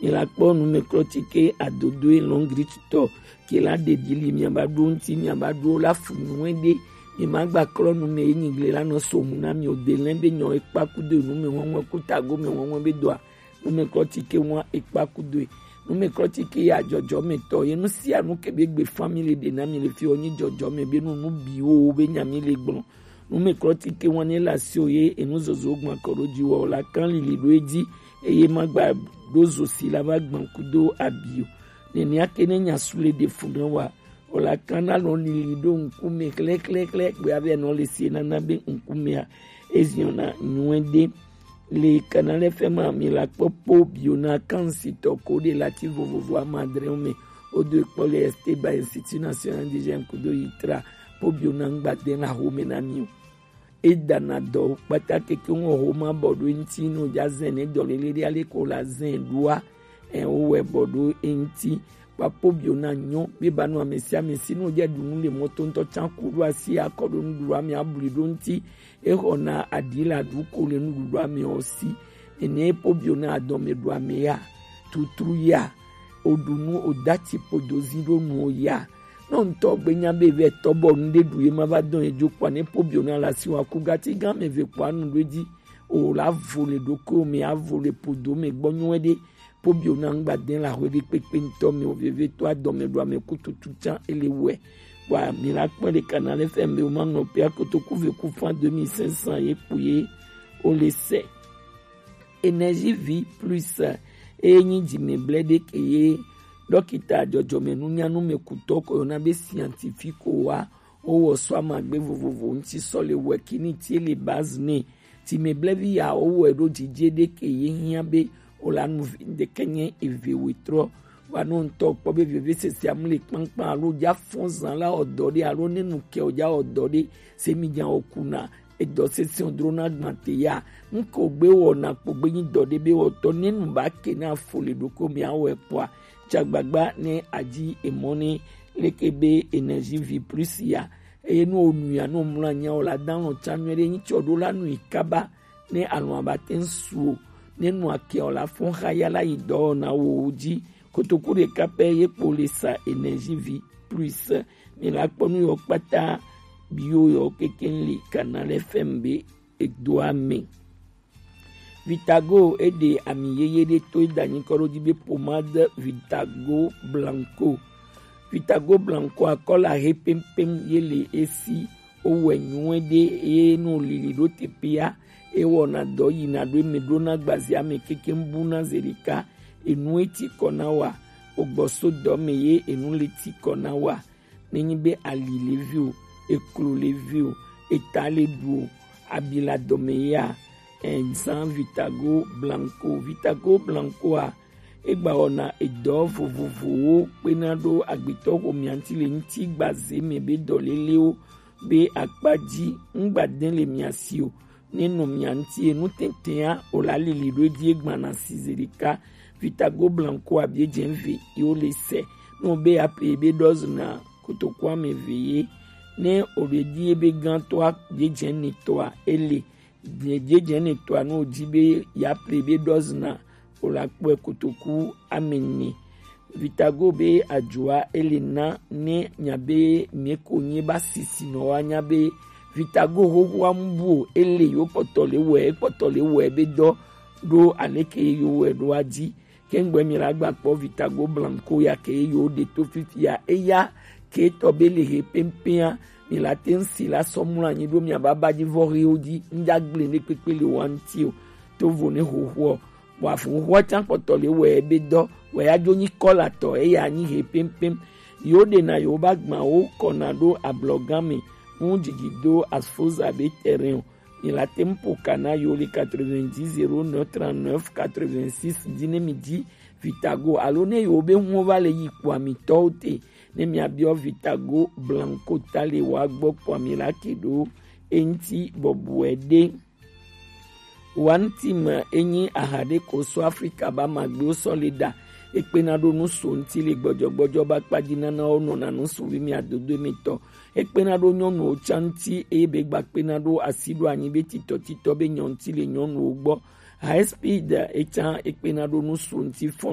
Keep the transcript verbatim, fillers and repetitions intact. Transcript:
Mi la kpɔ numɛklɔtike adodo e lɔngri tutɔ ke la ɖe ɖi li miaba ɖo ŋuti miaba ɖo la fu nyuie ɖe. Mi ma gba klɔ numɛ ye nyigble la nɔ so mu na mi o de lɛ be nyɔ ekpa kudo numɛ wɔnwɔn ku tago mɛ wɔnwɔn be dɔa. Numɛklɔtike wɔn ekpa kudo e. Numɛklɔtike ya jɔjɔ mɛ tɔ ye nu sia nu ke be gbe family ɖe na mi le fi o nyi jɔjɔ mɛ be nu nu bi wo be nya mi le gblɔ. Numɛklɔtike wɔn ne la si o ye enu zozo gbɔn kɔ ɖo dzi wɔ la kan lili ɖo edzi eye ma gba ɖo zo si la va gbɔn kudo abi o. Nɛnɛ ake ne nya su le ɖe fu na wa o la kan na lɔ lili ɖo ŋkume klɛklɛklɛ gbe avɛ nɔ le si nana be ŋkumea eziɔna nyuie ɖe. Le Canal F M a mi la kpɔ po bio na kan si tɔ ko ɖe la ti vovovo amadrɛwo mɛ. O do ekpɔ le Esteban Institut National Indigenous kudo yitra po bio na ŋgba de la home na mi o. E dana dɔ kpata keke ŋɔ homa bɔ ɖo eŋti no ja zɛn ne dɔ lele ɖe ale ko la zɛn ɖoa. Ɛ o wɛ bɔ ɖo eŋti kpapo bio na nyɔ be ba nu ame sia ame si no ja ɖu nu le mɔto ŋutɔ tsan ku ɖo asi akɔ ɖo nuɖuɖu ame abli ɖo ŋti. E xɔ na aɖi la ɖu ko le nuɖuɖu ame o si. Ene po bio na adɔme ɖu ame ya tutru ya o ɖu nu o dati po dozi ɖo nu o ya. Nɔ ŋutɔ gbe nya be vɛ tɔ bɔ nu ɖe ɖu ye ma va dɔn ye dzo kpa ne po bio na la si wa ku gati gã me ve kpa nu ɖo edzi. O la vo le ɖokuiwo me avo le podo me gbɔ nyuie ɖe. Po bio na ŋgba de la hwe ɖe kpekpe ŋutɔ me o veve to adɔme ɖo ame ku tutu tsan ele wɛ. Wa mi la kpɔ ɖe Canal F M be o ma nɔ pe akoto ku ve ku fan deux mille cinq cents ye ku ye o le sɛ. Énergie Vie Plus eye nyi dzimɛblɛ ɖe ke ye ɖɔkita dzɔdzɔmɛnunya numɛkutɔ ko yɔna be scientifique wa. Wowɔ sɔ amagbe vovovo ŋuti sɔ le wɛ kini tie le base nɛ. Dzimɛblɛvi ya wowɔe ɖo dzidze ɖe ke ye hiã be o la nu vi ɖeke nye eve wetrɔ. Wa no ŋutɔ kpɔ be veve sese amu le kpankpan alo dza fɔn zan la ɔdɔ ɖe alo ne nu kɛ o dza ɔdɔ ɖe se mi dza o kuna. Edɔ sese o dro na gbante ya. Ŋkɔ gbe wɔ na kpo gbe nyi dɔ ɖe be wɔtɔ ne nu ba ke na fo le ɖoko mi awɔ ekpɔa. Tsagbagba ne adzi emɔ ne leke be Énergie Vie Plus ya. Eye ne o nu ya ne o mlɔ anya o la dan lɔ tsa nyuie ɖe nyi tsɔ ɖo la nu yi kaba. Ne alɔ abate ŋsu o ne nu akɛ o la fɔn xa ya la yi dɔ na wo dzi. Kotoku ɖeka pɛ ye kpo le sa Énergie Vie Plus. Mi la kpɔ nu yɔ kpata bio yɔ keke le Canal F M be edoa me. Vitago eɖe ami yeye ɖe to eɖe anyi kɔ ɖo dzi be pomade Vitago Blanco. Vitago Blanco akɔla he pɛmpɛm ye le esi. Wowɔe nyuie ɖe eye no lili ɖo teƒea. Ewɔna dɔ yina ɖo eme ɖo na gbazia me keke bu na zeɖeka. Enu eti kɔ na wa. Ogbɔ so dɔ me ye enu le ti kɔ na wa. Nenyi be ali le vi o, eklo le vi o, eta le ɖu o, abi le adɔme ya, eh, zan Vitago Blanco. Vitago Blanco a, egba wɔna edɔ vovovowo kpena ɖo agbetɔ xomea ŋuti le ŋuti gbaze me be dɔlelewo be akpa dzi ŋgba de le mia si o. Ne nɔ mia ŋuti enu tɛtɛa o la lili ɖo edzi egbana si zeɖeka. Vitago Blanco a bie dze ve yo le se. No be ape be dɔzna kotoku ame ve ye. Ne o ɖe di ebe gãtɔa bie dze netɔa ele. Bie dze netɔa no di be ya pe be dɔzna o la kpɔe kotoku ame ne. Vitago be adzoa ele na ne nya be mie ko nye ba sisi nɔ wa nya be Vitago xoxoa mu bu o ele yo kpɔtɔ le wɛ kpɔtɔ le wɛ be dɔ ɖo aleke yo wɛ ɖo adzi. Kengbe mi la gba kpɔ Vitago Blanco ya ke yo ɖe to fifi ya eya ke tɔ be le he pɛmpɛa mi la te ŋsi la sɔ mlɔ anyi ɖo mia baba dzi vɔ hewo dzi ŋdza gble ne kpekpe le wa ŋti o. To vo ne xoxoɔ Bɔ avunxoa tsã kpɔtɔ le wɛ be dɔ wɛ ya dzo nyi kɔlatɔ eya nyi he pɛmpɛm. Yewo ɖena yewo ba gbawo kɔna ɖo ablɔgã me ŋu dzidzi do asfoza be terrain o. Mi la tem po kana yewo le quatre-vingt-dix zéro neuf trente-neuf quatre-vingt-six dzi ne mi dzi Vitago alo ne yewo be huwo va le yi kpoa mi tɔwo te ne mia biɔ Vitago Blanco ta le wa gbɔ kpoa mi la ke ɖo eŋti bɔbɔe ɖe. Wantima enyi aha ɖe ko so Afrika ba magbewo sɔ le ɖa. Ekpena ɖo nusu ŋti le gbɔdzɔgbɔdzɔ ba kpadzi nanawo nɔna nusu vi mi adodo emetɔ. Ekpena ɖo nyɔnuwo tsa ŋti eye be gba kpena ɖo asi ɖo anyi be titɔ titɔ be nyɔ ŋti le nyɔnuwo gbɔ. High speed etsa ekpena ɖo nusu ŋti fɔn